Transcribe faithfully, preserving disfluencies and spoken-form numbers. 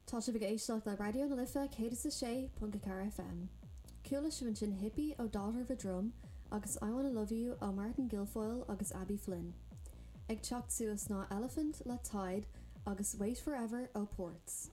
Tá sibh ag éisteacht le Raidió na Life céad is a sé ponc a ceathair FM. Chuala sibh ansin Hippie ó Daughter of a Drum agus I Wanna Love You ó Martin Guilfoyle agus Abby Flynn. Ag teacht suas ná Elephant le Tide agus Wait Forever ó Ports.